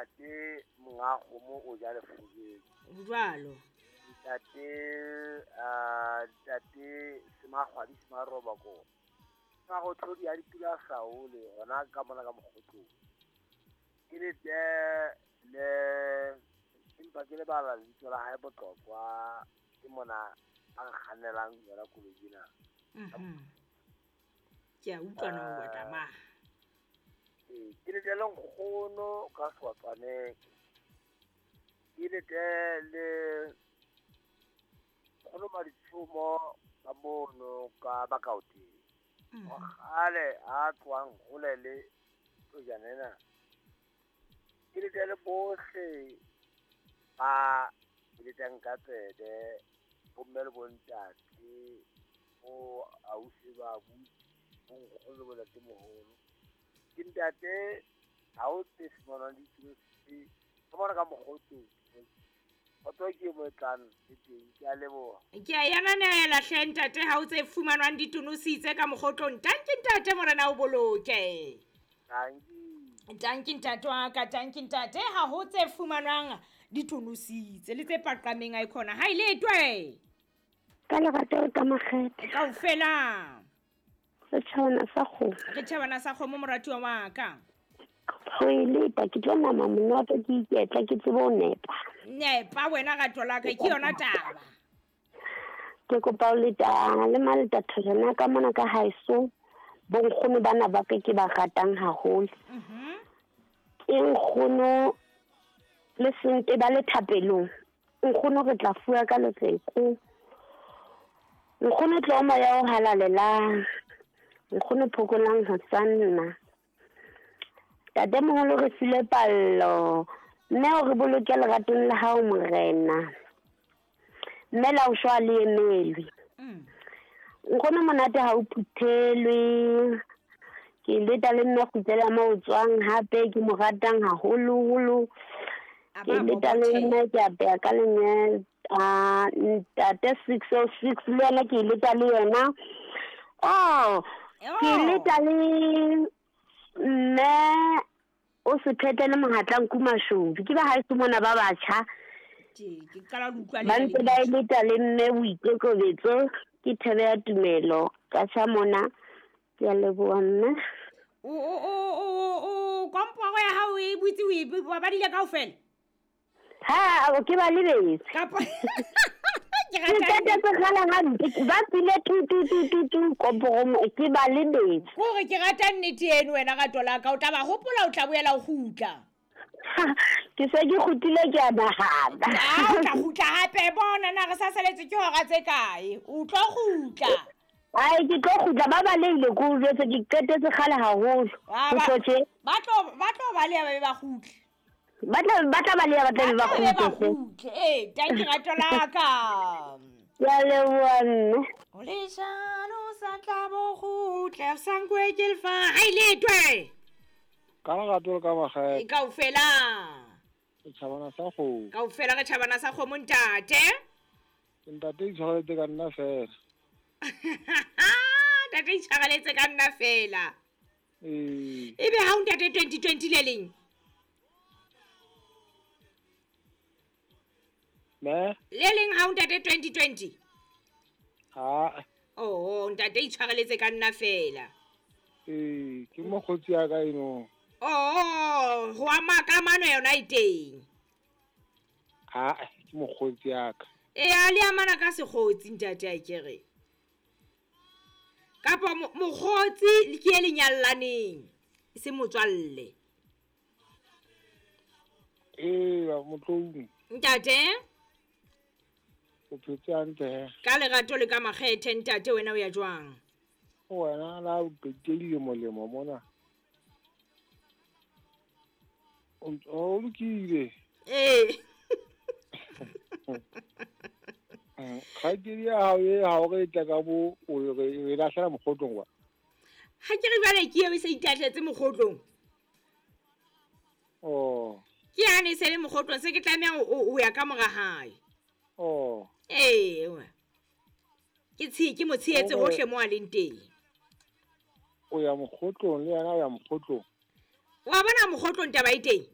Ntate monga kgomo o ja lefubeng. Jwalo. Ntate ntate Semakgwadi Semaroba ko. Marothodi a dipula saole hona ka mona ka mokgotlong. Ke le te le empa ke lebala lebitso la hae Botlokwa ke mona a nkgannelang yona koloi ena. Ke a utlwa na o batla mang. Ee, ke le tle le nkgono ka Swatswaneng. Ke le tle le nkgono Maditshomo ka mono ka Bakaoteng. Kgale a tlohang hole le tojana ena. Ke le tle le bohle ba eletsang ka tsebe, bomme le bontate, bo ausi ba abuti, bo nkgono le bontatemoholo. Ke ntate ha o tse fumanwang ditiro ka mona ka mokgotlong. Kgotso ke mo tlang le teng, ke a leboha. Ke a yananela hle ntate ha o tse fumanwang ditonositse ka mokgotlong. Tanki ntate morena o boloke. Tanki. Tanki ntate wa ka, tanki ntate ha ho tse fumanwang ditonositse le tse paqameng a ikhona. Ha ile twe. Ka lerato le ka makgethe. Kaofela. Re tjhabana sa kgomo. Re tjhabana sa kgomo moratuwa wa ka. Ho e leta ke tlo nama monate ke iketla ke tsebe ho nepa. Nepa wena rato la ka ke yona taba. Ke kopa ho leta le maleta thojana ka mona ka haeso bonkgono bana ba ke ba ratang haholo. Ke nkgono le sente ba le thapelong. Nkgono re tla fuwa ka letleko. Nkgono tlo moya o halalelang. Nkgono phokolang ho tsanna. Tate moholo re file pallo. Mme o re boloke leratong la hao morena. Mme la o shwa le emelwe. Nkgono monate ha o phuthelwe. Ke leta le nna kgutlela mo o tswang hape ke mo ratang haholoholo. Ke leta le nna ke apeya ka lenyalo. Ntate 606 le yena ke leta le yena. Oh, ke leta le mme o se phetele mohatla nku mashodu. Ke ba haeso mona ba batjha. Ke qala ho utlwa le ba ntse ba leta le mme boikokobetso ke thebe ya tumelo ka tjha mona. Ke a leboha mme. O komporo ya hao e butse o e ba badile kaofela? Ha, ke ba lebetse. Kapa ke Ke rata qetetse kgale hampe, ba tswile tu tu tu tu tu komporo mo, ke ba lebetse. Kore ke rata nnete eno wena rato la ka, o tla ba hopola o tla boela o kgutla. Ke se ke kgutlile ke a nahana. Ah, o tla kgutla hape bona na re sa saletse ke hora tse kae? O tlo kgutla. Ai, ke tlo kgutla ba balehile ke o jwetse ke qetetse kgale haholo. Ah, Ho tlo tje. Ba tlo baleha ba be ba kgutle. Ba tla baleha ba tla be ba Ba tla be ba kgutle. kgutle. Eh, tanki rato la ka. Ke a leboha mme. O leshano sa tla bo kgutle, sa nkwe ke lefa. Ha ile twe. Ka lerato le ka makgethe. Kaofela. Re tjhabana sa kgomo. Kaofela re tjhabana sa kgomo ntate. Ntate itshwareletse ka nna fela. Ntate itshwareletse ka nna fela. Ee. Ebe ha o ntate 2020 le leng? Ne? Le leng ha o ntate 2020? Ha. Oh, ntate itshwareletse ka nna fela. Ee, ke mokgotsi ya ka eno. Oh, ho ama kamano yona e teng. Ha, ke mokgotsi ya ka. Ee, a le amana ka sekgotsi ntate a ke re. Kapa mokgotsi le ke e lenyallaneng, e se motswalle. Ee, motloung. Ntate? O phetse hantle he. Ka lerato le ka makgethe ntate wena o ya jwang? Wena la o qetile dilemo-lemo mona. O lokile. Ee. Kgaitsedi ya hao e ha o re tla ka bo o re e lahlela mokgotlong wa. Ha ke re jwale ke eo e se itahletse mokgotlong. Oh. Ke yane e se le mokgotlong se ke tlameha o ya ka mora hae. Oh. Ee, we. Ke ke mo tshehetse Oh. hohle mo a leng teng. O ya mokgotlong le yena o ya mokgotlong. Wa bona mokgotlong taba e teng?